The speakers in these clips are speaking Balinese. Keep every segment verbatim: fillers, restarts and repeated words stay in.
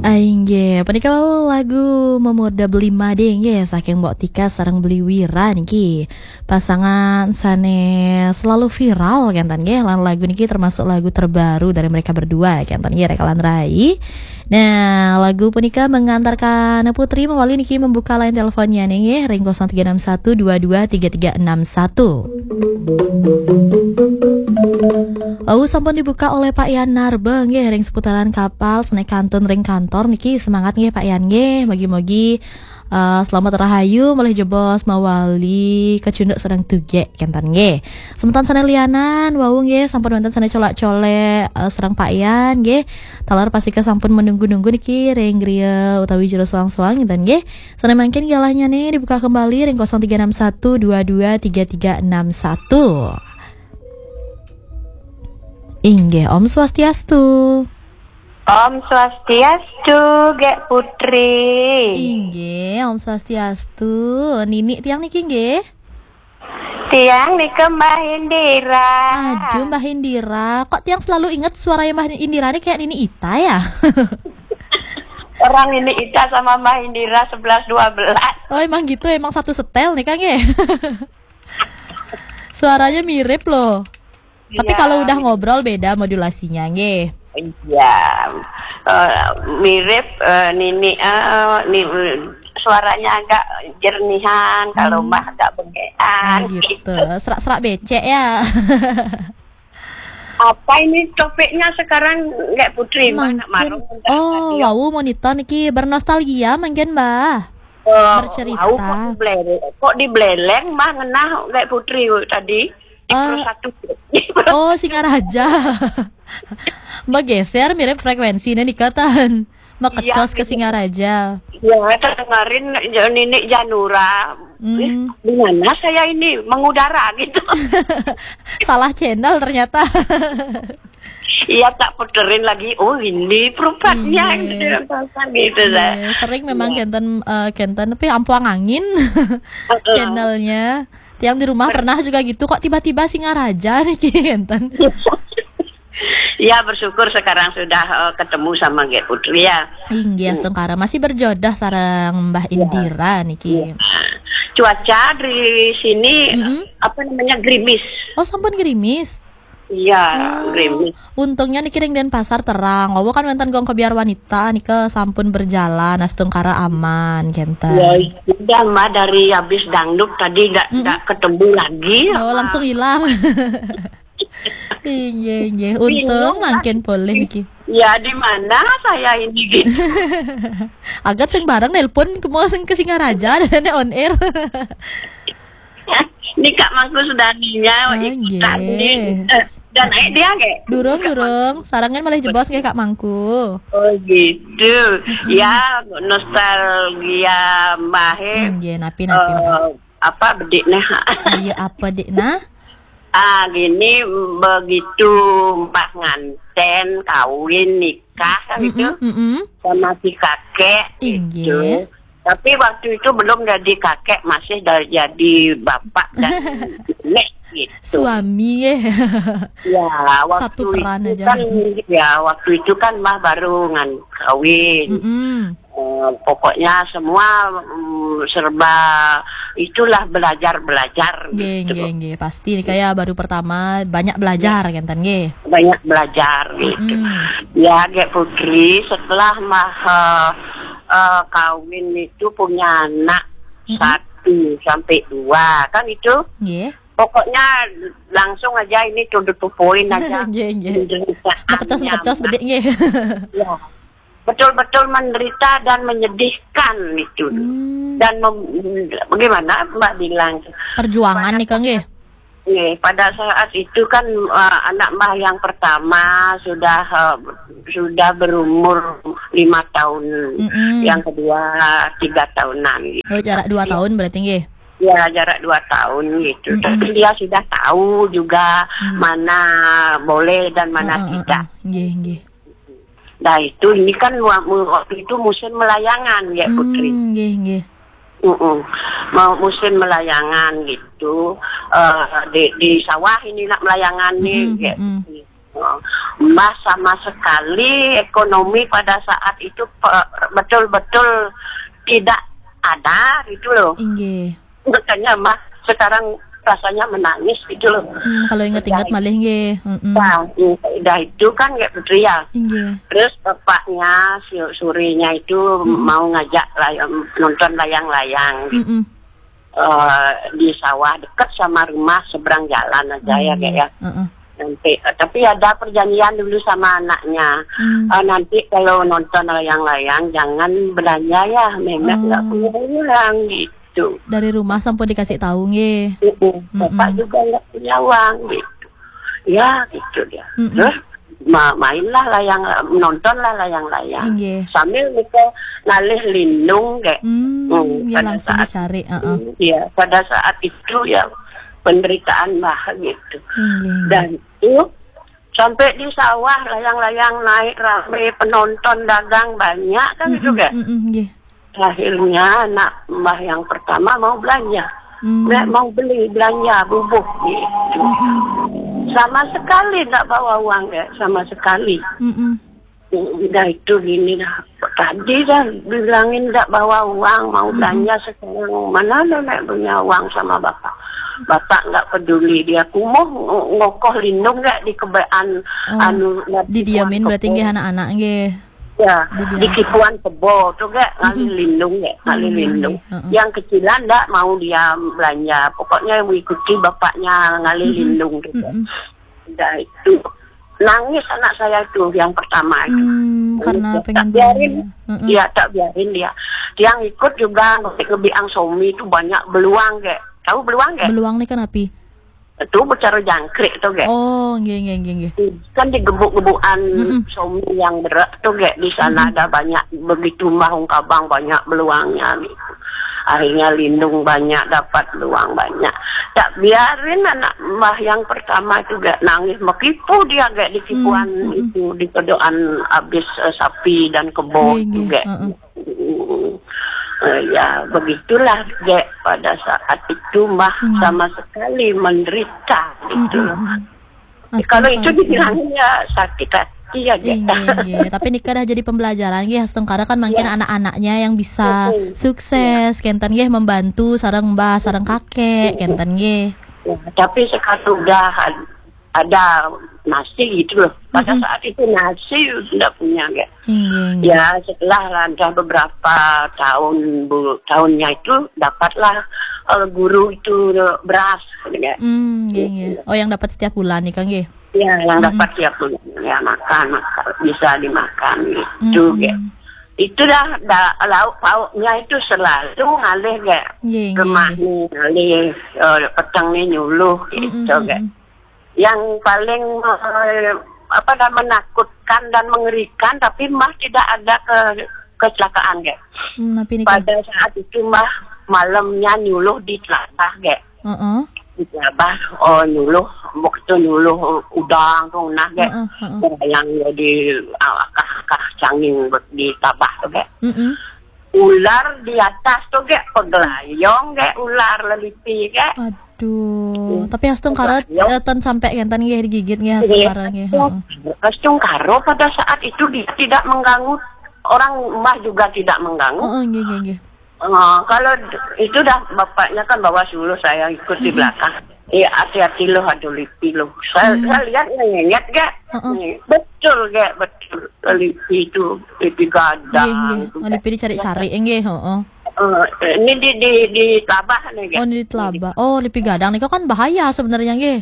Inggih, punika wau lagu Memurda Beli Made nggih, saking Mbok Tika sareng Beli Wira niki. Pasangan sane selalu viral kenten nggih, lan lagu niki termasuk lagu terbaru dari mereka berdua kenten nggih, Rekalan Rai. Nah, lagu punika mengantarkan Putri mawali niki membuka line teleponnya nggih, ring kosong tiga enam satu dua dua tiga tiga enam satu. Wau sampun dibuka oleh Pak Yan Narba nggih, ring seputaran kapal, sane kantun ring kantor niki. Semangat nggih Pak Yan nggih. Mugi-mugi eh, selamat rahayu, malih jebos mawali kacunduk sareng tugek kenten nggih. Semeton sane lianan wau nggih, sampun wenten sane colak-colek eh, sareng Pak Yan nggih. Taler pastika sampun menunggu-nunggu niki ring griya utawi jero soang-soang kenten nggih. Sane mangkin galahnya nih dibuka kembali ring kosong tiga enam satu dua dua tiga tiga enam satu. Inggih, Om Swastiastu. Om Swastiastu, Gek Putri. Inggih, Om Swastiastu. Nini tiang niki nggih? Tiang nika Mbah Indira. Aduh, Mbah Indira. Kok tiang selalu inget suaranya Mbah Indira nih kayak Nini Ita ya? Orang Nini Ita sama Mbah Indira sebelas dua belas. Oh, emang gitu, emang satu setel nih, Kang, ya? Suaranya mirip loh. Tapi iya, kalau udah ngobrol beda modulasinya, nggih. Iya. Eh, mirip eh, Nini eh, ni, suaranya agak jernihan, kalau hmm. Mbah agak bengean. Oh, gitu. Serak-serak becek ya. Apa ini topiknya sekarang, Gek Putri? Mbah nak mangkin marung, oh, tadi ya. Wau monitor niki bernostalgia mangkin, Mbah. Eh, bercerita. Wau kok dibeleng, kok dibeleng Mbah ngenah, Gek Putri tadi. Di eh, Pro satu. Oh, Singaraja. Mbah geser mirip frekuensi nih katan. Makecos iya, ke gitu. Singaraja. Ya, kemarin Nini Janura. Hmm. Eh, di mana saya ini mengudara gitu. Salah channel ternyata. Iya, tak puterin lagi. Oh, ini perupatnya. Iya. Gitu, gitu. Iya, sering memang iya. Kenten eh, kenten tapi ampuang angin. Heeh. Channelnya. Tiang di rumah pernah juga gitu, kok tiba-tiba Singaraja nih kenten. Ya, bersyukur sekarang sudah eh, ketemu sama Gek Putri ya. Inggih, astungkara masih berjodoh sareng Mbah Indira niki. Iya. Cuaca di sini mm-hmm. Apa namanya, gerimis. Oh, sampun gerimis. Iya, oh, gerimis. Untungnya niki ring Denpasar terang. Wau kan wenten gong kebiar wanita nika sampun berjalan, astungkara aman kenten. Ya, sudah Mbah dari habis dangdut tadi nggak mm-hmm. Nggak ketemu lagi. Oh, langsung hilang. Inggih, inggih. Untung bingung, mangkin polih iki. Ya, di mana saya ini gitu. Agat sing bareng nelpon ke mau sing ke Singaraja dan on air. Ini Kak Mangku sudah ninya, oh, ikut nggih. Kami. Eh, dan eh, dia nggih. Durung, durung. Sarangan malah jebos nggih Kak Mangku. Oh, gitu. Mm-mm. Ya, nostalgia Mbah. Nggih, napi, napi, Mbah. Eh, apa bedik nah? Ayo, apa dik nah? Ah, gini, begitu Mbah nganten, kawin, nikah kan itu mm-mm. Sama si kakek inggih. Gitu. Tapi waktu itu belum jadi kakek, masih da- jadi bapak dan nek gitu. Suami ya. Ya, waktu satu peran itu aja. Kan, ya, waktu itu kan Mbah baru ngan kawin. Mm-mm. Eh, pokoknya semua mm, serba itulah belajar-belajar nggih, gitu. Nggih, nggih. Pasti nih kayak baru pertama banyak belajar ya. Kenten nggih. Banyak belajar gitu. Mm. Ya, Gek Putri, setelah mah eh, eh, kawin itu punya anak mm-hmm. Satu sampai dua kan itu. Nggih. Pokoknya langsung aja ini tunduk tupuin aja. Nggih, nggih. Makecos-makecos bedik nggih. Ya. Betul-betul menderita dan menyedihkan itu. Hmm. Dan mem- bagaimana Mbak bilang? Perjuangan pada nih Kang nggih. Pada saat itu kan uh, anak Mbah yang pertama sudah uh, sudah berumur lima tahun, mm-mm. Yang kedua tiga tahunan. Gitu. Oh, jarak dua tahun berarti nggih? Ya, jarak dua tahun gitu. Mm-mm. Tapi dia sudah tahu juga mm. Mana boleh dan mana mm-mm. Tidak. Nggih, nggih. Nah itu ini kan waktu itu musim melayangan ya Putri. Nggih, nggih. Mm-mm. Mau musim melayangan gitu uh, di, di sawah ini nak melayangan nih mm-mm, ya. Mm-mm. Oh, Mbah sama sekali ekonomi pada saat itu pe-, betul-betul tidak ada gitu loh. Inggih. Makanya Mbah sekarang rasanya menangis gitu loh. Hmm, kalau ingat-ingat malih nggih. Mm-mm. Nah, udah itu kan kayak Putri ya. Inggih. Terus bapaknya si Surinya itu mau ngajak layang, nonton layang-layang gitu. Mm-mm. Eh, di sawah deket sama rumah, seberang jalan aja ya, Kak, ya. Heeh. Nanti, eh, tapi ada perjanjian dulu sama anaknya. Hmm. Eh, nanti kalau nonton layang-layang, jangan belanja ya, Memet nggak punya uang gitu. Dari rumah sampun dikasih tahu nggih. Mm-mm. Bapak juga nggak punya uang gitu. Ya gitu dia. Mm-mm. Terus ma-, mainlah layang, nontonlah layang-layang. Inggih. Sambil nika ngalih lindung, kayak. Hmm, hmm, ya, pada langsung saat dicari, heeh. Iya, pada saat itu ya penderitaan Mbah gitu. Inggih, inggih. Dan itu sampai di sawah layang-layang naik rame, penonton dagang banyak kan gitu, mm-mm, kayak. Mm-mm, nggih. Akhirnya anak Mbah yang pertama mau belanja. Hmm. Nek mau beli belanja bubuh gitu. Mm-mm. Sama sekali nggak bawa uang ya, sama sekali. Mm-mm. Udah itu gini dah. Tadi dah bilangin nggak bawa uang, mau belanja sekarang. Mana ada nek punya uang sama bapak? Bapak nggak peduli, dia kumuh ng-, ngokoh lindung nggak di kebean, oh, anu, didiamin berarti nggih anak-anak nggih. Ya, di kipuan kebo tuh gak ngalih lindung ya, ngalih lindung. Heeh. Yang kecilan ndak mau dia belanja. Pokoknya mengikuti bapaknya ngalih lindung tuh. Udah itu nangis anak saya itu yang pertama itu. Hmm, karena tak pengen biarin. Belanja. Heeh. Iya, tak biarin dia. Yang ikut juga ngebiang somi itu banyak beluang gak. Tahu beluang gak? Beluang nih kan api? Itu bicara jangkrik tuh gak. Oh, nggih, nggih, nggih, nggih. Kan digebuk-gebukan somi yang berat tuh gak di sana ada banyak begitu mbah ungkabang banyak beluangnya gitu. Akhirnya lindung banyak, dapat beluang banyak. Tak biarin anak mbah yang pertama itu gak nangis, mekipu dia gak di kipuan itu, di kedoan habis, eh, sapi dan kebo itu gak. Heeh. Mm, eh, ya, begitulah, Gek, pada saat itu Mbah sama sekali menderita gitu. Mm-mm. Kalau itu dibilangnya sakit hati ya, Gek. Inggih, inggih. Tapi nika dah jadi pembelajaran nggih, astungkara kan mungkin anak-anaknya yang bisa sukses, kenten nggih, membantu sareng Mbah, sareng kakek, kenten nggih. Ya, tapi sekarang udah ada nasi gitu loh. Pada saat itu nasi tidak punya, Gek. Iya, iya. Ya, setelah lantas beberapa tahun, bu-, tahunnya itu dapatlah, eh, guru itu beras, gitu ya. Hmm, iya, iya. Oh, yang dapat setiap bulan nih, Kang, ya? Ya, yang dapat setiap bulan. Ya, makan, makan, bisa dimakan gitu, Gek. Itu dah, dah, lauk pauknya itu selalu ngalih, Gek. Iya, iya, iya. Rumah nih, ngalih, eh, peteng nih nyuluh, gitu, Gek. Yang paling, eh, apa namanya, menakutkan dan mengerikan, tapi Mbah tidak ada ke-, kecelakaan, Gek. Hmm, napi nika? Pada saat itu Mbah malamnya nyuluh di Telabah, Gek. Heeh. Di Telabah, oh, nyuluh, waktu nyuluh udang tuh nah, Gek. Heeh, heeh. Yang jadi, ah, akah-akah canging di Telabah tuh, Gek. Mm-mm. Ular di atas tuh, Gek, pegelayong, Gek, ular lelipi, Gek. Aduh, tapi astungkara, eh, ten sampai kenten nggih digigit nggih astungkara nggih. Heeh. Astungkara pada saat itu dia tidak mengganggu, orang Mbah juga tidak mengganggu. Heeh, nggih, nggih, nggih. Eh, kalau d-, itu dah bapaknya kan bawa suluh, saya ikut di belakang. Iya, hati-hati loh, ada lipi loh. Saya, saya lihat ngenyet, Gek. Heeh. Nih, betul, Gek, betul. Lipi itu, lipi gadang. Nggih, nggih. Oh, lipi dicari-cari, nggih, heeh. Eh, ini di, di, di Telabah nih, Gek. Oh, ini di Telabah. Oh, lipi gadang nih kan bahaya sebenarnya, nggih.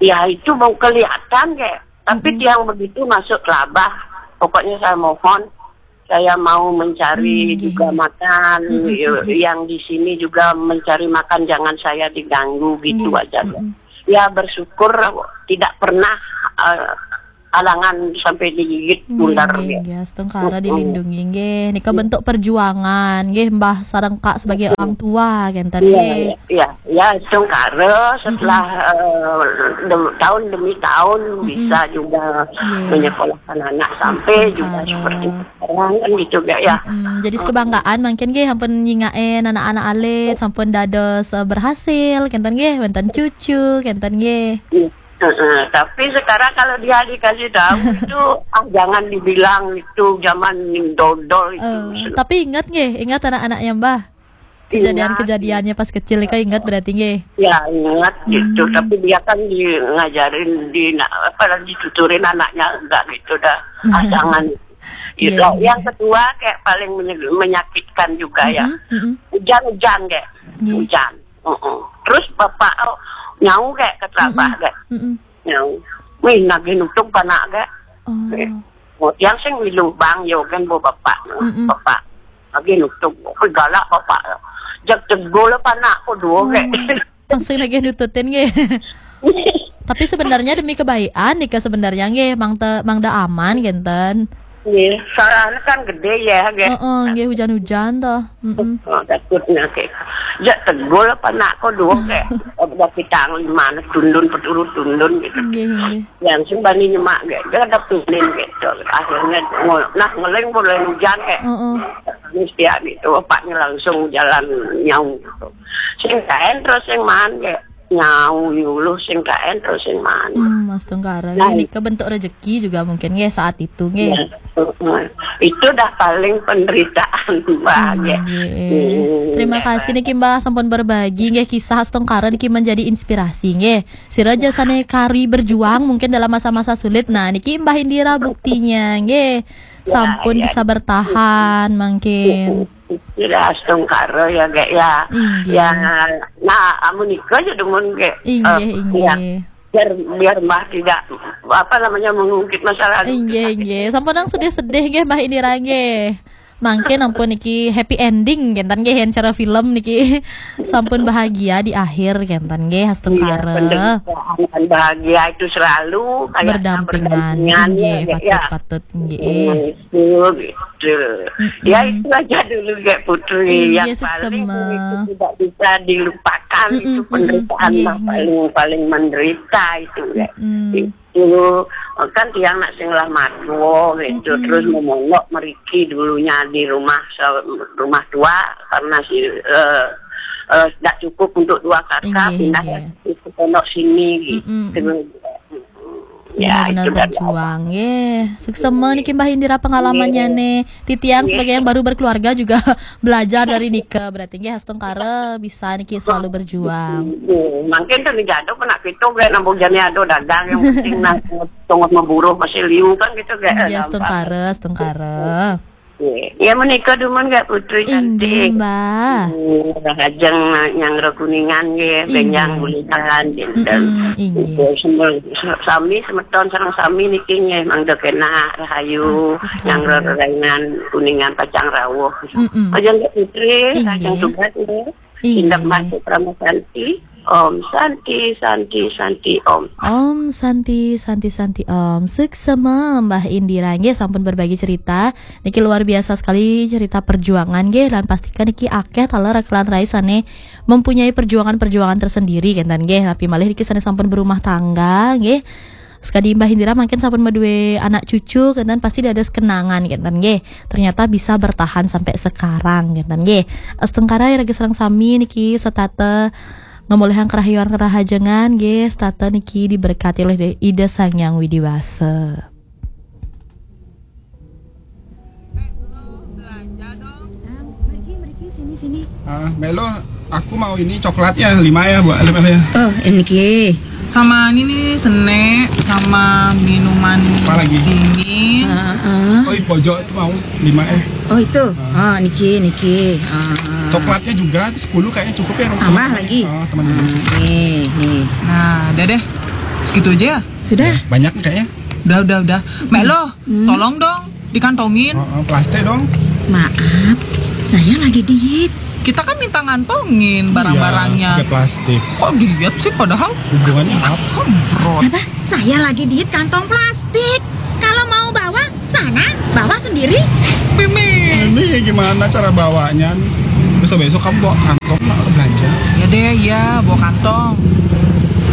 Ya, itu mau kelihatan, Gek. Tapi tiang begitu masuk Telabah, pokoknya saya mohon, saya mau mencari juga makan, yo, yang di sini juga mencari makan, jangan saya diganggu gitu aja, Gek. Ya, bersyukur tidak pernah, eh, alangan sampai digigit ular, nggih, ya. Nggih, astungkara dilindungi, nggih. Nika bentuk perjuangan, nggih, Mbah sareng Kak sebagai orang tua, kenten, nggih. Iya, iya, ya, astungkara setelah, eh, dem-, tahun demi tahun bisa juga menyekolahkan anak sampai juga seperti sekarang, kan gitu, Gek, ya. Jadi kebanggaan mungkin, nggih, sampun nyingakin anak-anak alit, sampun dados, eh, berhasil, kenten, nggih, wenten cucu, kenten, nggih. Iya. Heeh, tapi sekarang kalau dia dikasih tahu itu, ah, jangan dibilang itu zaman dodol itu. Eh, tapi ingat nggih, ingat anak-anaknya Mbah? Kejadian-kejadiannya pas kecil, Ika ingat berarti nggih? Ya, ingat gitu. Hmm. Tapi dia kan di, ngajarin, di, apa, dituturin anaknya, enggak gitu dah. Ah, jangan. Gitu. Iya, iya. Yang kedua, kayak paling menye-, menyakitkan juga ya. Mm-mm, mm-mm. Hujan-hujan kayak. Iya. Hujan. Mm-mm. Terus bapak, oh, nyau kayak keterabak kayak. Mm-mm. Nyau. Wih, nagih nutung panak kayak. Oh. Yang sing milu bang, yo kan, bo bapak. Mm-mm. Bapak. Lagi nutung. Wih, galak bapak. Jak tegol panak ko dua kayak. Langsung lagi nututin nggih. Tapi sebenarnya demi kebaikan nika sebenarnya nggih, Mang te, Mang da aman genten. Nggih, sarana kan gede ya, nggih. Heeh, nggih, hujan-hujan toh. Mm-mm. Oh, takutnya kayak. Jak tegol panak ko dua kayak. Udah kita lima tundun, peturu tundun gitu. Nggih, nggih. Langsung bani nyemak kayak. Dia ada tundin gitu. Akhirnya ngol-, nah, ngeling mulai hujan kayak. Heeh. Ini setiap itu bapaknya langsung jalan nyau gitu. Sing kaen terus sing man kayak. Nyau yuluh sing kaen terus sing man. Hmm, astungkara. Nah, nggih, nika bentuk rezeki juga mungkin nggih saat itu nggih. Ya, heeh. Itu dah paling penderitaan, Mbak, nggih. Nggih. Hmm, terima kasih niki, Mbak, sampun berbagi nggih kisah astungkara niki menjadi inspirasi nggih. Sira aja sane kari berjuang mungkin dalam masa-masa sulit. Nah, niki Mbah Indira buktinya nggih. Ya, sampun ya, bisa bertahan mungkin. Sudah astungkara ya, Gek, ya. Inggih. Ya, nah, amun nika aja demen, Gek. Inggih, eh, inggih. Ya. Biar, biar Mbah tidak, apa namanya, mengungkit masa lalu. Inggih, inggih. Sampun nang sedih-sedih nggih, Mbah Indira nggih. Mangke ampun niki happy ending, genten nggih, yen cara film niki. Sampun bahagia di akhir, genten nggih, astungkara. Iya, penderitaan dan bahagia itu selalu kayaknya berdampingan, berdampingan, nggih, ya, ya. Patut, patut, nggih. Hmm. Betul, betul. Mm-mm. Ya, itu aja dulu, Gek Putri. Inggih, yang paling suksema. Itu tidak bisa dilupakan, mm-mm, itu penderitaan, mm-mm, yang paling, paling menderita itu, Gek. Mm-mm. Itu, kan tiang nak sing lah matua gitu, mm-mm, terus memonok meriki dulunya di rumah se-, rumah tua karena si, eh, eh, tidak cukup untuk dua kakak, inggih, pindah, inggih, ke pondok sini gitu. Mm-mm. Terus, mm-mm. Ya, benar-benar itu dari berjuang, awal. Nggih. Suksema niki Mbah Indira pengalamannya, nggih, nih. Titiang, nggih, sebagai yang baru berkeluarga juga belajar dari nika. Berarti nggih, astungkara bisa niki selalu berjuang. Nggih. Mungkin kan dijado kena kita, nggih, nambung jani ada dagang, yang penting nah, tongos memburuh masih liu kan gitu, nggih. Nggih, gampang. Astungkara, astungkara. Nggih. Ya, menika dumun, Gek Putri. Inggih, cantik. Mbah. Hmm, rahajeng nyanggra Kuningan nggih, inggih, benjang bulihan dinten. Mm-mm, inggih. Nggih, semua, sami semeton sareng sami niki nggih, mangda kena rahayu, astungkara, nyanggra rerainan Kuningan pacang rawuh. Mm-mm. Rahajeng, Gek Putri, inggih, rahajeng tugas nggih. Inggih. Tindak masuk Parama Santi. Om Santi, Santi, Santi, Om. Om Santi, Santi, Santi, Om. Suksema, Mbah Indira nggih sampun berbagi cerita. Niki luar biasa sekali cerita perjuangan nggih, lan pastikan niki akeh taler rekan rai sane mempunyai perjuangan-perjuangan tersendiri, genten nggih. Napi malih niki sane sampun berumah tangga nggih. Sekadi Mbah Indira mangkin sampun madue anak cucu, genten, pasti dados kenangan, genten nggih. Ternyata bisa bertahan sampai sekarang, genten nggih. Astungkara iraga sareng sami niki setata ngamolihang kerahayuan kerahajengan nggih, setata niki diberkati oleh Ida Sang Hyang Widi Wasa. Mriki, mriki, sini, sini. Ah, Melo, aku mau ini coklat ya, lima ya, buat lima ya. Oh, ini ki. Sama ini nih, senek, sama minuman, apa lagi? Dingin. Ah, ah. Oh, di pojok itu mau lima ya. Oh, itu. Ah. Ah, niki, niki. Ah, ah. Coklatnya juga sepuluh kayaknya cukup ya, teman-teman. Tambah lagi. Ah, teman-teman. Ah, nih, nih. Nah, udah deh. Segitu aja ya? Sudah. Ya, banyak nih kayaknya. Udah, udah, udah. Melo, hmm, tolong dong, dikantongin. Oh, oh, plastik dong. Maaf, saya lagi diet. Kita kan minta ngantongin, iya, barang-barangnya. Pakai plastik. Kok diet sih padahal? Hubungannya apa? Hembrot. Apa? Saya lagi diet kantong plastik. Kalau mau bawa, sana, bawa sendiri. Mimi. Ini gimana cara bawanya nih? Besok-besok kamu bawa kantong lah belanja. Ya deh, ya, bawa kantong.